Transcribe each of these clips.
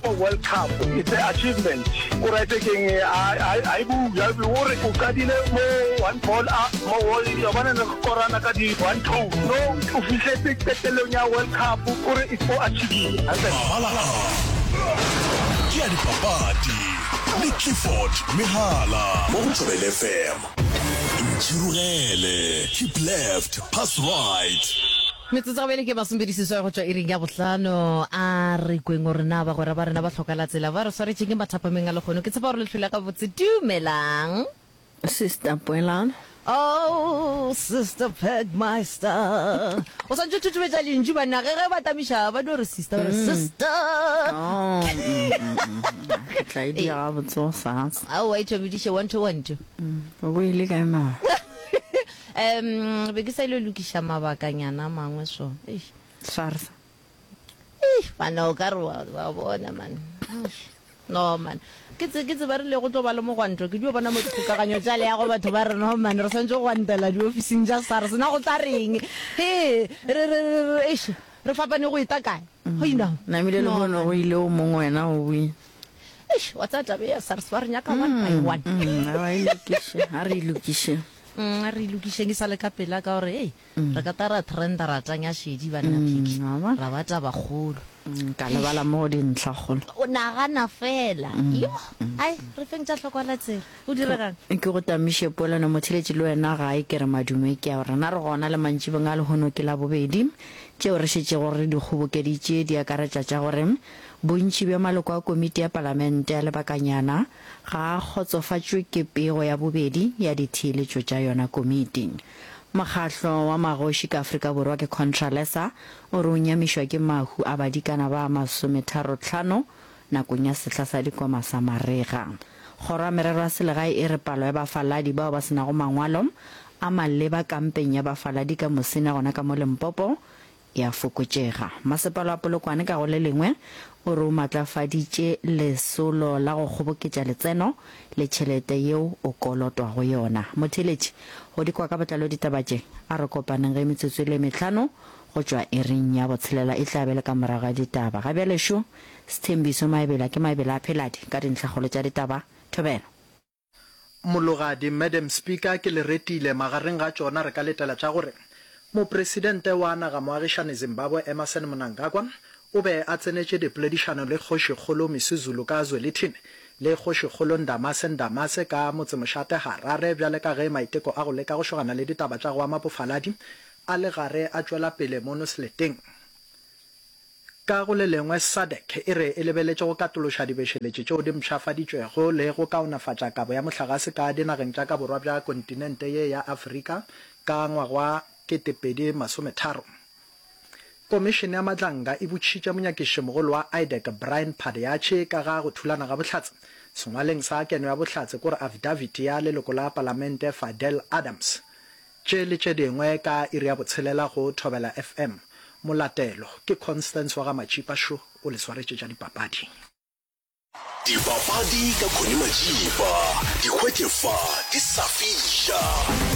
ko World Cup it's a achievement. O right keng a a e bue a o re o qadile mo one ball a mo wa bona ne re korana ka di one two no o fihletse qetellong ya World Cup o re it's o achievile. Mabala a ke a dipapadi le Clifford Mehala mo go Thobela FM. Ntšhirogele, keep left, pass right. Metsotso gabele ke masomepedi-seswai go tšwa iring ya bohlano. A re kweng gore na bagwera ba rena ba hloka la tsela ba re swaretšeng ke mathapameng a lekgono. Ke tshepa gore le hlwele gabotse. Dumelang. Sister Poelano. Oh, Sister Pegmeister. O swantše o thuthumetša lentšu banna ge ge ba tamiša ba dio re sister ba re sister. Oh, mm, mm, mm. Ke tla e dia gabotse go sasa. Aowa e thomediše 1 2 1 2. O boile kae mama? Um, be ke sa ile lokiša mabakanyana a mangwe so. Eish. SARS. Eish, bana o ka re wa wa bona man. Eish. No man. Ke tse ke tseba rile go tlo ba le mogwanto ke dio bona mo dikgokaganyo tša leago batho ba re no man re swantse go gwantela diofising tša SARS na go tla reng. He re re re re eish re fapane go eta kae. Go ina. Namile le No bono man. go ile o mongwe wena o buile. Eish wa tsaya taba ya SARS ba re nyaka one by one. Mm, a ba e lokiše, a re e lokiše. Mm, a re lokišeng e sa le ka pela ka gore ei re ka ta ra trenda ra tanya šedi banna phiki wa bona. ra ba tabakgolo Mm, ka lebala mo go dintlhakgolo. O nagana fela yo ai re feng tša hlokwa la tsela go diregang. Ke go tamiše polelo motheletši le wena gae ke re madume ke a rena re gona le mantšibong a lehono ke Labobedi. Tšeo re šetšego re di kgobokeditše di akaretša tša gore bontši bja maloko a komiti ya palamente ya lebakanyana ga a kgotsofatšwe ke pego ya bobedi ya ditheeletšo tša yona komiti. Mokgahlo wa magoši ka Afrika Borwa ke Contralesa o re o nyamišwa ke mahu a badikana ba masometharohlano nakong ya sehla sa dikoma sa marega. Kgoro ya Merero ya Selegae e re palo ya bafaladi bao ba se nago mangwalo a maleba kampeng ya bafaladi ka Musina gona ka mo Limpopo e a fokotšega. Masepala wa Polokwane ka go le lengwe o re o matlafaditše lesolo la go kgoboketša letseno le tšhelete yeo o kolotwago yona. Motheeletši, go di kwa ka botlalo ditaba tše, a re kopaneng ge metsotso e le mehlano go tšwa iring ya botshelela e tla be le ka morago ga ditaba. Ga bjale šo Sthembiso Maebela ke Maebela a Pheladi ka dintlhakgolo tša ditaba. Thobela. Mologadi, Madam Speaker, ke le retile. Magareng ga tšona re ka letela tša gore Mopresidente wa naga moagišani Zimbabwe Emmerson Mnangagwa o be a tsenetše dipoledišano le Kgošikgolo Misuzulu ka Zwelithini le Kgošikgolo Ndamase Ndamase ka motsemošate Harare bjale ka ge maiteko a go leka go šogana le ditaba tša go ama bofaladi a le gare a tšwela pele mono seleteng. Ka go le lengwe, SADC e re e lebeletše go katološa dibešeletši tšeo di mpshafaditšwego le go kaonafatša kabo ya mohlagase ka dinageng tša ka borwa bja kontinente ye ya Afrika ka ngwaga wa 2030. Komišene ya Madlanga e botšitše monyakišišimogolo wa IDAC Brian Padayachee ka ga go thulana ga bohlatse sengwaleng sa keno ya bohlatse kore affidavit ya leloko la palamente Fadel Adams. Tše le tše dingwe ka iri ya botshelela go Thobela FM. Molatelo ke Constance wa ga Matšipa šo o le swaretše tša dipapadi. Dipapadi ka Connie Matšipa, di hwetše fa di sa fiša.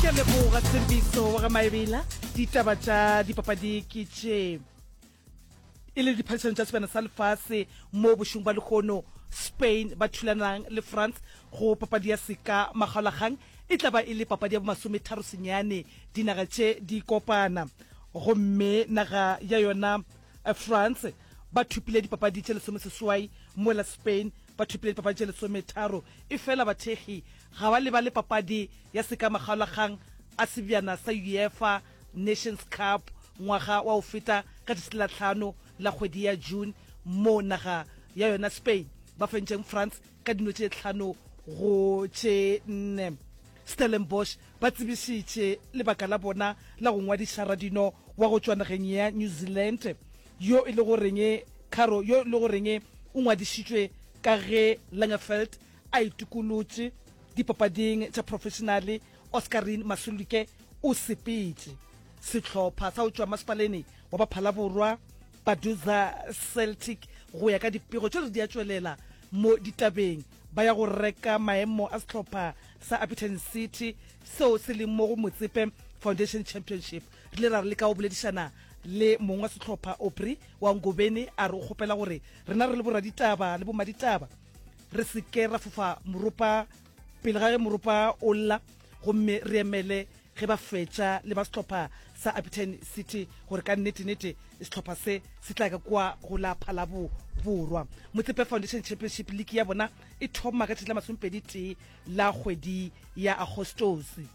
Ke a leboga Tshembiso wa ga Maebela. Ditaba tša dipapadi ke tše e le diphadišano tša sebjana sa lefase mo bošung ba lehono Spain ba thulanang le France go papadi ya seka makgaolakgang e tla ba e le papadi ya bomasometharo senyane dinaga tše di kopana gomme naga ya yona eh, France ba thopile dipapadi tše lesomeseswai mola Spain ba thopile dipapadi tše lesometharo e fela bathekgi ga ba lebale papadi ya seka makgaolakgang a sebjana sa UEFA Nations Cup ngwaga wa go feta ka tšatši la tlhano la kgwedi ya June mo naga ya yona Spain ba fentšeng France ka dino tše tlhano go tše nne. Stellenbosch ba tsebišitše lebaka la bona la go ngwadiša radino wa go tšwa nageng ya New Zealand yo e le goreng Caro yo e le goreng o ngwadišitšwe ka ge Langeveldt a itokolotše dipapading tša professionale Oscarine Masuluke o sepetše. Sehlopha sa go tšwa masepaleni wa Baphalaborwa, Baduza Celtic, go ya ka dipego tšeo di a tšwelela mo ditabeng, ba ya go reka maemo a sehlopha sa Upperton City seo se leng mo go Motsepe Foundation Championship. Re ile ra leka go boledišana. le mong wa sehlopha Aubrey wa Ngobeni a re o kgopela gore rena re le boraditaba le bomaditaba re se ke ra fofa moropa pele ga ge moropa o lla gomme re emele ge ba fetša le ba sehlopha sa Upton City gore ka nnete-nete sehlopha se se tla ka kua go la Phalabo Borwa. Motsepe Foundation Championship League ya bona e thoma ka tšatši la masomepedi-tee la kgwedi ya Agostose.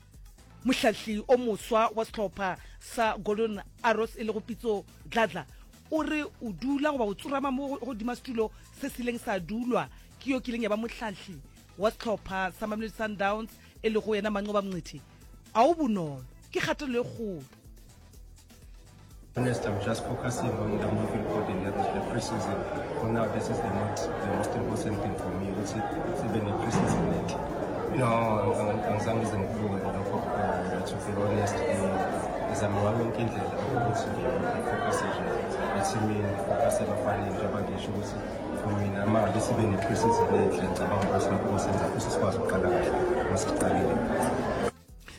Mohlahli o moswa wa sehlopha sa Golden Arrows e lego Pitso Dladla o re o dula goba o tsorama mo godima setulo se se ileng sa dulwa ke yo kileng ya ba mohlahli wa sehlopha sa Mamelodi Sundowns e lego yena Manqoba Mngqithi. A o bonolo, ke kgatelelo e kgolo. Honest, I'm just focusing on the moving forward and the pre-season. For now, this is the most, the most important thing for me, ukuthi sibe ne-pre-season enhle. No, angizange ngize ngikubuke lokho, uh, to be honest, eh, ngizama ngayo yonke indlela ukuthi ngifocuse nje ethimini, ngifocuse ebafaneni njengoba ngisho ukuthi for mina uma ngabe sibe ne-pre-season enhle ngicabanga ukuthi lokho kosenza futhi sikwazi ukuqala kahle uma siqalile.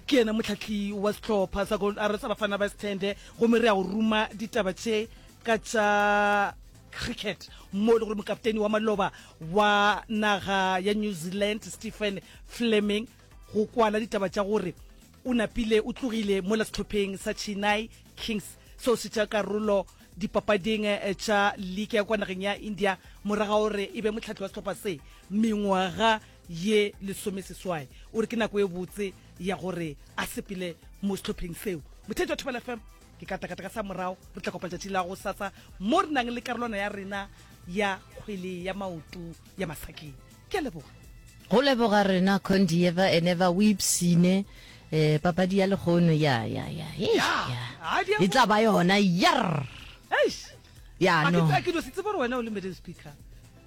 Ke yena mohlahli wa sehlopha sa Gold Arrows sa Bafana ba Sithende gomme re ya go ruma ditaba tše ka tša cricket mo e le gore mokapteni wa maloba wa naga ya New Zealand Stephen Fleming go kwala ditaba tša gore o napile o tlogile mola sehlopheng sa Chennai Kings seo se tša karolo dipapading tša league ya kwa nageng ya India morago ga gore e be mohlahli wa sehlopha se mengwaga ye lesomeseswai. O re ke nako ye botse ya gore a sepele mo sehlopheng seo. Motheetši wa Thobela FM, ke katakata ka sa morago, re tla kopana tšatši la gosasa mo re nang le karolwana ya rena ya kgwele ya maoto ya masakeng. Ke a leboga. Go leboga rena Condi ever and ever o ipshine eh papadi ya lehono ya ya ya eish, ya e tla ba yona yarr Eish. ya A ke no a ke dio se tsebe gore wena o le madam speaker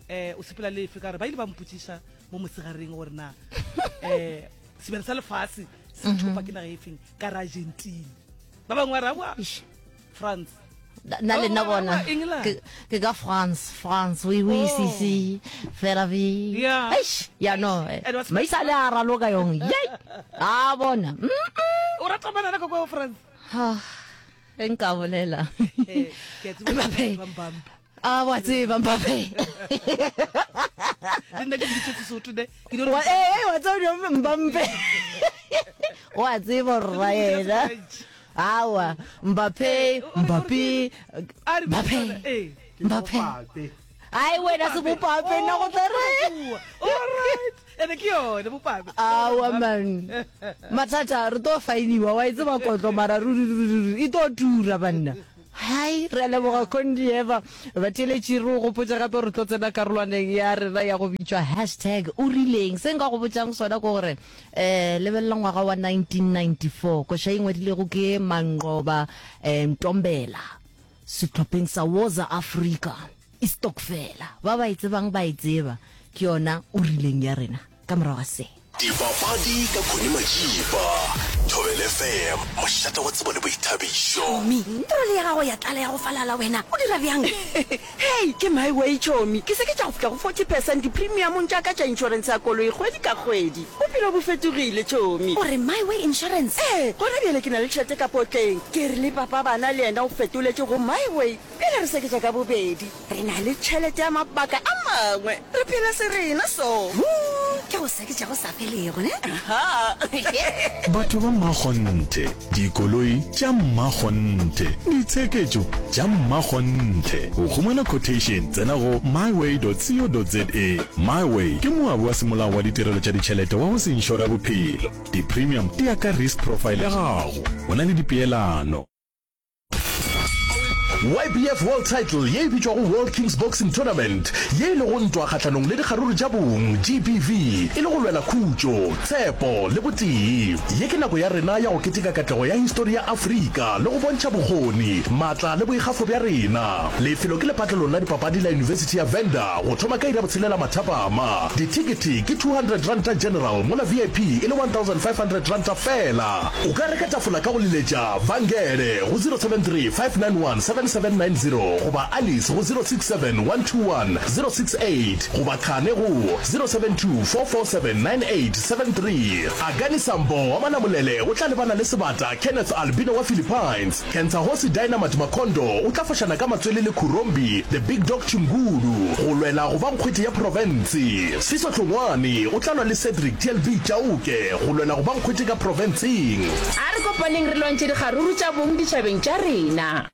eh o sepela le efe ka gore ba ile ba mpotšiša mo mosegareng gore na eh sebjana sa lefase se thopa ke naga e feng ka re Argentina ba bangwe ba re aowa France na le nna bona ke ka France France oui oui si oh. si fela vi yeah. eish ya no eh. maisa le a raloka yong ye a bona o rata banana ka kwa France ha nka bolela eh, ke tseba Mbappe a wa tseba Mbappe le nna ke biditse Sesotho ne ke wa eh wa tseba Mbappe wa tseba rra yena Aowa, Mbappe, Mbappe, Mbappe, Mbappe. Ai wena se bopape nna go tla re. Alright. Ene ke yone bopape. Aowa man. Mathata re tlo fainiwa wa e tseba kotlo mara ruri ruri ruri e tlo tura banna. Hai re a leboga Condi Eva. Batheeletši re o gopotša gape re tlo tsena karolwaneng ya rena ya go bitšwa hashtag o rileng. Se nka go botšang sona ke gore Eh, lebelela ngwaga wa 1994, koša e ngwadilego ke Manqoba eh, Ntombela sehlopheng sa Woza Africa, Istokfela. Ba ba e tsebang ba e tseba, ke yona o rileng ya rena ka morago ga se. Dipapadi ka Connie Majiba, Thobela FM, mošate wa tsebo le boithabišo. Chomi, troli ya gago ya tlala ya go falala wena, o dira bjang? Hei, ke my way chomi, ke seketša go fihla go 40 percent dipremiamong tša ka tša inšorense ya koloi kgwedi ka kgwedi. Bophelo bo fetogile chomi. O re my way insurance? Ee, gona bjale ke na le tšhelete ka potleng. Ke re le papa bana le yena o fetoletše go my way. Bjale re seketša ka bobedi. Re na le tšhelete ya mabaka a mangwe. Re phela se rena so. Huu, ke go seketša go sa felego, ne? Aha. Batho ba mmakgonthe. Dikoloi tša mmakgonthe. Ditsheketšo tša mmakgonthe. Go humana quotation, tsena go myway.co.za. MyWay ke moabi wa semolao wa ditirelo tša ditšhelete wa go se inšore bophelo. Di-premium di ya ka risk profile ya gago. Go na le dipeelano. YBF World Title ye e bitšwago World Kings Boxing Tournament, ye e lego ntwa kgahlanong le dikgaruru tša bong, GBV, e le go lwela khutšo, tshepo le botee. Ye ke nako ya rena ya go keteka katlego ya histori ya Afrika le go bontšha bokgoni, maatla le boikgafo bja rena. Lefelo ke lepatlelong la dipapadi la Yunibesithi ya Venda go thoma ka iri ya botshelela mathapama. Dithekethe ke R200 General mola VIP e le R1500 feela. O ka reka tafola ka go leletša Vangele go 073 591 77. 0790 goba Alice go 067 121 068 goba Khane go 072 447 9873. Akani Sambo wa Malamulele o tla lebana le Sebata Kenneth Albino wa Philippines. Kentsahosi Dynamite Makondo o tla fošana ka matswele le Khurombi The Big Dog Chingulu go lwela go ba nkgwete ya profense. Siso Hlongwane o tla lwa le Cedric TLB Chauke go lwela go ba nkgwete ka profenseng. A re kopaneng re lwantšhe dikgaruru tša bong ditšhabeng tša rena.